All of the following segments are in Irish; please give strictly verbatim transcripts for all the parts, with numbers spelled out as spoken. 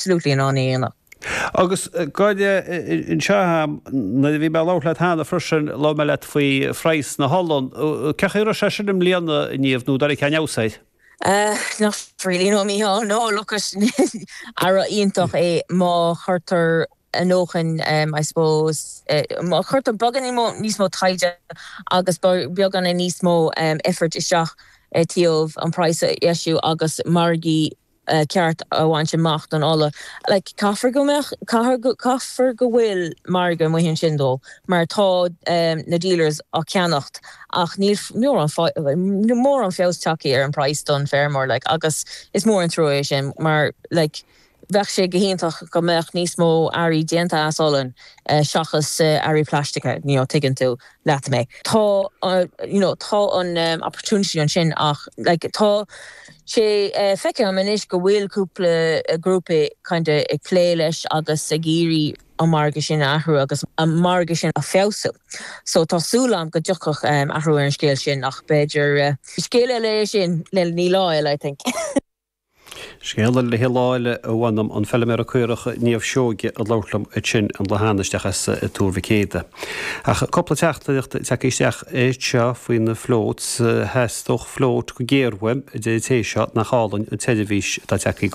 absolutely in ann é a dhéanamh. Agus goide anseo nuair a bhí mé ag labhairt leat cheana freisin labhair mé leat faoi phraghas na holann. Cén chaoi a raibh sé sin i mbliana a Niamh nó dar cean fheabhas air? Uh, not really no Mícheál no look earra iontach é má chuirtear a ndóthain um, I suppose uh, má chuirtear beagáinín níos mó taighde agus beagáinín níos mó um, effort isteach uh, taobh an price a dheisiú agus margaí uh, ceart a bhaint amach don ola. Like, caithfidh go caithfidh go bhfuil margadh amuigh ansin dó, mar tá um, na dealers á ceannacht ach níl mór an feabhas tagtha ar an price don feirmeoir like, agus is mór an trua sin mar like, bheadh sé go hiontach go mbeadh níos mó earraí déanta as olann uh, seachas uh, earraí plaisteacha you know, tuigeann tú leat mé. Tá uh, you know, tá an um, opportunity ansin ach like, tá sé uh, feicim anois go bhfuil cúpla uh, grúpa kind of ag plé leis agus ag iarraidh an margadh sin athrú agus an margadh sin a fheabhsú. So tá súil agam go dtiocfaidh um, athrú ar an scéal sin ach b'fhéidir uh, scéal eile sin le ní lá eile I think. Scéal le hiláile a bhainm an feilméara caorach Niamh Seoige a labhair liom ansin an lá isteach as Tuar Mhic Éadaigh. Ach cúpla teachtaireacht tagtha isteach é seo faoi na floats theastódh float go géar uaim a deir té seo nach álainn an tseirbhís atá tagtha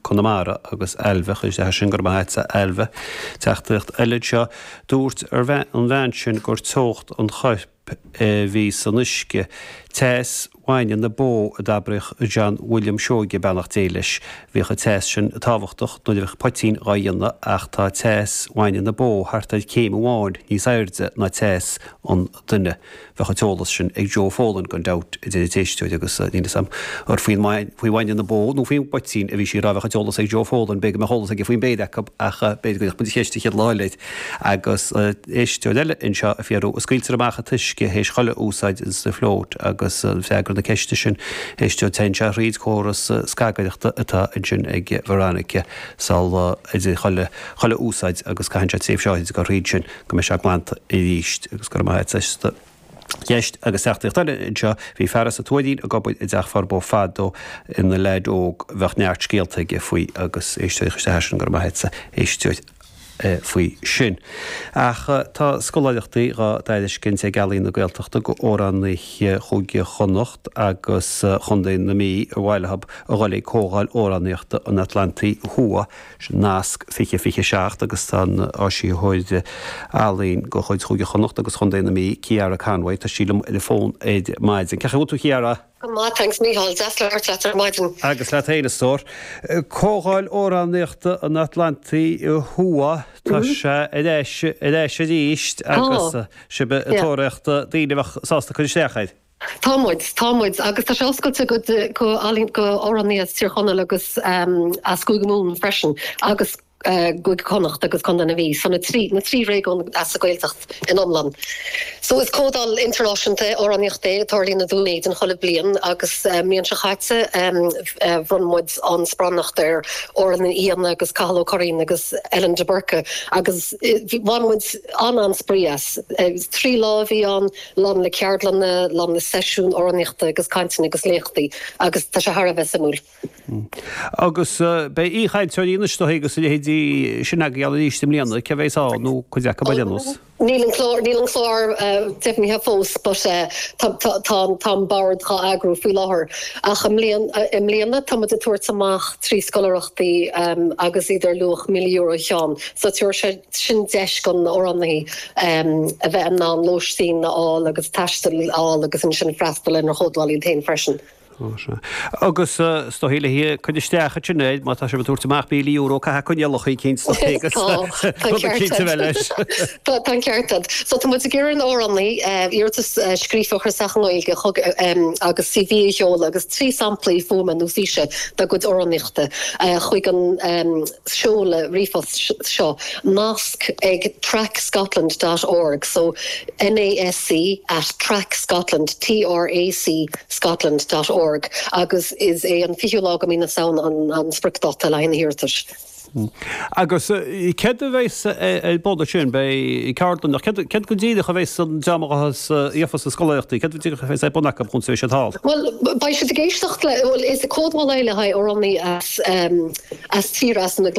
Conamara agus Ailbhe chuir sin gur maith Ailbhe teachtaireacht eile seo dúirt ar an bhean sin gur teocht an choirp bhí san uisce teas bhainne na bó a d'abraigh John William Seoige beannacht Dé leis bhíodh an teas sin tábhachtach nuair a bheadh poitín á dhéanamh ach tá teas bhainne na bó thart ar céim amháin níos airde ná teas an duine. Bheadh an t-eolas sin ag Joe Folan gan dabht a deir an t-éisteoir agus níl a fhios agam ar faoi bhainne na bó nó faoin bpoitín a bhí sí rá bheadh an t-eolas ag Joe Folan b'fhéidir go mbeadh eolas aige faoin mbeirt acu ach b'fhéidir go mbeadh ceist chéad lá eile agus éisteoir eile anseo ag fiafraí an scaoiltear amach an t-uisce théis chuile úsáid sa float agus freagra na ceiste sin éisteoir téann sé thríd córas scagaireachta atá ansin ag Veronica sal idir chuile chuile úsáid agus caitheann sé tréimhse áirid go thríd sin go mbeidh sé glanta arís agus go maith eiste. Ceist agus teachtaireacht eile anseo bhí fear as an Tuairín ag obair i dteach Furbo fadó ina leaid óg bheadh neart scéalta aige faoi agus éisteoir isteach sin go maith éisteoir faoi sin. Ach tá scoláireachtaí á dtairiscint ag Ealaín na Gaeltachta go amhránaithe Chúige Chonnacht agus Chontae na Mí a bhaileab a dul ag Comhdháil Amhránaíochta an Atlantaigh Thuaidh sin nasc fiche fiche seacht agus tá an áisitheoir ealaíon de chuid Chúige Chonnacht agus Chontae na Mí Ciara Conway tá sí liom ar an bhfón ar maidin. Cén chaoi a bhfuil tú Ciara? Go maith thanks Mícheál deas labhairt leat ar maidin. Agus leat féin a stór. Comhdháil Amhránaíochta an Atlantaigh Thuaidh tá sé ar ais ar ais arís agus sibh ag tóraíocht daoine a bheadh sásta cur isteach air. Tá muid, tá muid, agus tá sé oscailte go go go amhránaithe as Tír Chonaill agus um, as Cúige Mumhan freisin agus uh, Cúige Chonnacht agus Contae na Mí, so na trí na trí réigiún as an Ghaeltacht in iomlán. So is comhdháil idirnáisiúnta amhránaíochta é tarlaíonn i nDún Éideann chuile bliain agus uh, an bhliain seo caite um, uh, bhronn muid an sparánacht ar Odhrán Ní Fhianna agus Cathal Ó Curraoin agus Ellen de Burca agus bhain muid an an-spraoi as. Trí lá a bhí ann lán le ceardlanna lán le seisiún amhránaíochta agus cainteanna agus léachtaí agus tá sé thar a bheith suimiúil. Agus beidh aoichainteoirí anois agus leithéidí sin agaibh arís i mbliana cé bheas ann nó cuid acu ba déanús. Níl an clár níl an clár deimhnithe fós but tá tá bord á eagrú faoi láthair ach i mbliana tá muid ag tabhairt amach trí scoláireachtaí agus iad ar luach míle euro an ceann, so tabharfaidh sé sin deis don amhránaí a bheith in ann lóistín a fháil agus taisteal a fháil agus ansin freastal ar an chomhdháil iad féin freisin. Agus is dóigh le cur isteach sin é má tá sé tabhairt amach míle euro caithfidh coinníollacha cinn leis. Tá ceart. So tá muid ag iarraidh ar amhránaithe iarratas scríofa a chur isteach i nGaeilge agus CV a sheoladh agus trí samplaí fuaime nó físe dá gcuid amhránaíochta chuig an seoladh ríomhphost seo nasc ag tracscotland.org so NASC at tracscotland T R A C Scotland.org agus is é an fichiú lá de mhí na Samhna an, an spriocdháta le haghaidh na hiarratais. Agus céard a bheas ar bun ansin beidh ceardlann céard go díreach a bheas an dream a gheofas na scoláireachtaí, céard go díreach a bheas ar bun acu chun beidh siad thall? Bhuel beidh siad ag éisteacht le bhuel is comhdháil é le haghaidh amhránaí as as tír as na